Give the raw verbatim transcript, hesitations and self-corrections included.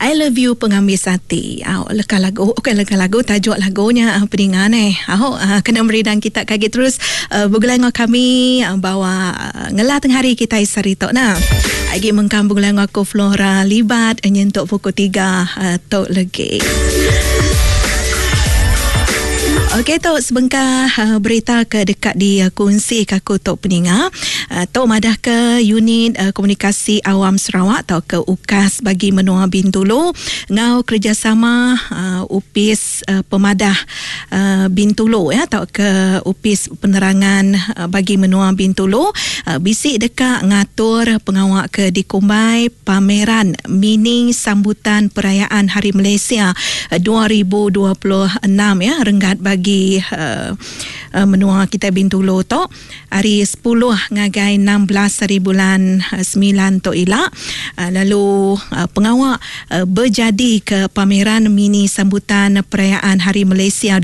I love you pengambis ati. Au leka lagu, okey leka lagu tajuk lagunya uh, peninga ne. Au uh, kena meridang kita kagi terus uh, begulai ngau kami uh, bawa uh, ngelah tengah hari kita sari tok nah. Agi mengkam begulai ngau aku Flora Libat nyentuk pukul tiga uh, tok legi. Okey tu sebengkah uh, berita ke dekat di uh, kongsi ke aku tok peninga. Uh, tok madah ke unit uh, komunikasi awam Sarawak atau ke UKAS bagi menua Bintulu ngau kerjasama uh, UPIS uh, Pemadah uh, Bintulu ya atau ke UPIS Penerangan uh, bagi menua Bintulu uh, bisik dekat ngatur pengawak ke dikumbai pameran mini sambutan perayaan Hari Malaysia uh, dua ribu dua puluh enam ya renggat bagi bagi uh, uh, menua kita Bintulu tu hari sepuluh ngagai enam belas hari bulan uh, sembilan tu ila. Uh, lalu uh, pengawak uh, berjadi ke pameran mini sambutan perayaan Hari Malaysia